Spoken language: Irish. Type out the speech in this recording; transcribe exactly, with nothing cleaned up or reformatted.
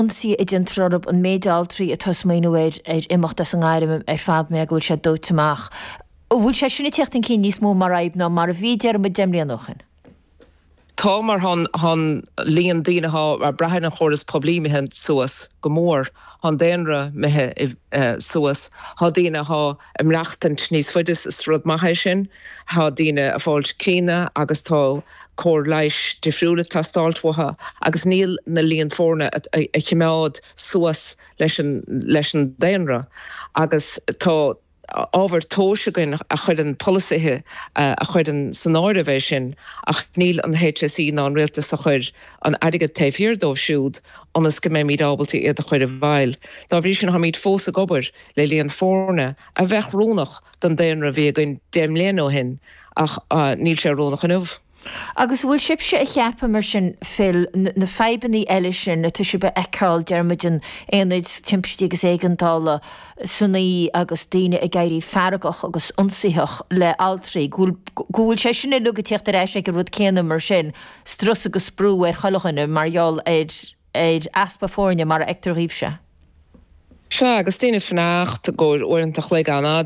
Ionsaithe a déantar orthu, an méid altraí atá ag smaoineamh ar ar imeacht as an ngairm ar fad mar go bhfuil sé dóite amach. An bhfuil sé sin ag teacht chun cinn níos mó mar fhadhb ná mar a bhí, déarfaidh muid, deich mbliana ó shin? Tá, mar tá an líon daoine atá ag brath ar an chóras poiblí imithe suas go mór, tá an daonra imithe suas, tá daoine atá ag maireachtaint níos faide, is rud maith é sin, tá daoine ag fáilt críonna agus tá cóir leighis difriúil ag teastáilt uathu agus níl na líon foirne a chimeád suas leis an leis an daonra agus tá ábhar tomhais againn a chuireann polasaithe a chuireann san áireamh é sin ach níl an H S E ná an rialtas a chuir an airgead taobh thiar dóibh siúd ionas go mbeimid ábalta iad a chur i bhfeighil. Dá bhrí sin táimid fós ag obair le líon foirne a bheadh oiriúnach don daonra a bhí againn deich mbliana ó shin ach níl sé oiriúnach inniu. Agus bhfuil sibhse ag ceapadh mar sin, Phil, na fadhbanna eile sin atá sibh a fheiceáil, deir muid in aonaid timpistí agus éigeandála san oíche agus daoine ag éirí feargach agus ionsaitheach le altraí, go bhfuil, go bhfuil sé sin uilig ag teacht ar ais ag an rud céanna mar sin, strus agus brú ar chuile dhuine mar gheall ar, ar easpa foirne mar a fheictear dhaoibhse? Sea, agus daoine ag fanacht go uaireanta chloig an-fhada.